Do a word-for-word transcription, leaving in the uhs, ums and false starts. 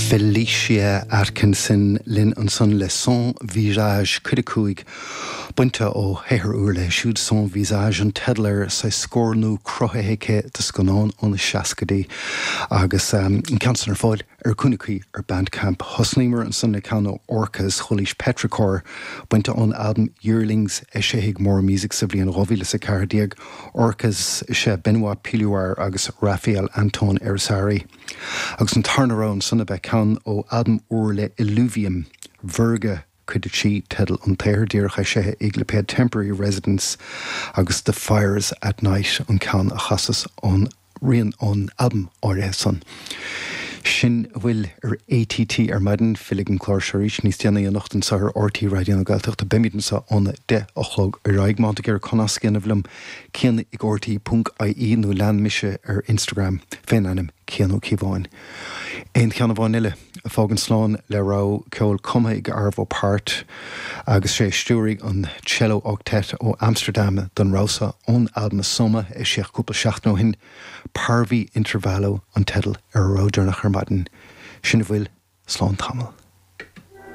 Felicia Atkinson linn ansan le Sans Visage cuid a cúig bainte ó shaothar úr léi siúd Sans Visage an teideal air sa scór nua cruthaithe aici do scannán ó na seascaidí agus um, an ceann san ar fáil ar cúnaí ar Bandcamp. Thosnaíomar ansan le ceann ó Orcas Chulis Petrichor bainte ón album Yearlings eisithe ag Morra Music sa bhliain dhá mhíle is a ceathair déag Orcas sé Benoit Pioulard agus Raphael Anton Irizarry. Agus an tarna rogha ansan ab ea ceann ó albam úr le Illuvium, Virga cuid a trí teideal an tsaothair díreach eisithe ag lipéad Temporary Residence agus The Fires at Night an ceann a chasas ón rian ón albam áirithe san. Sin a bhfuil ar ATT ar maidin fillfidh an clár seo arís níos déanaí anocht anseo ar RTÉ Raidió na Gaeltachta beimid anseo óna deich a chlog ar aghaidh má tá tú ag iarraidh nasc a dhéanamh liom Cian ag RTÉ ponc IE nó lean mise ar Instagram fén ainm Cian Ó Cíobháin. Aon cheann amháin eile a fágann slán le rogha ceoil cumtha ag Arvo Pärt agus sé stiúraigh an Cello Octet ó Amsterdam don rogha seo ón albam Soma eisíodh cúpla seachtain ó shin Parvi Intervallo an teideal ar a rogha deireanach ar maidin. Sin a bhfuil slán tamall.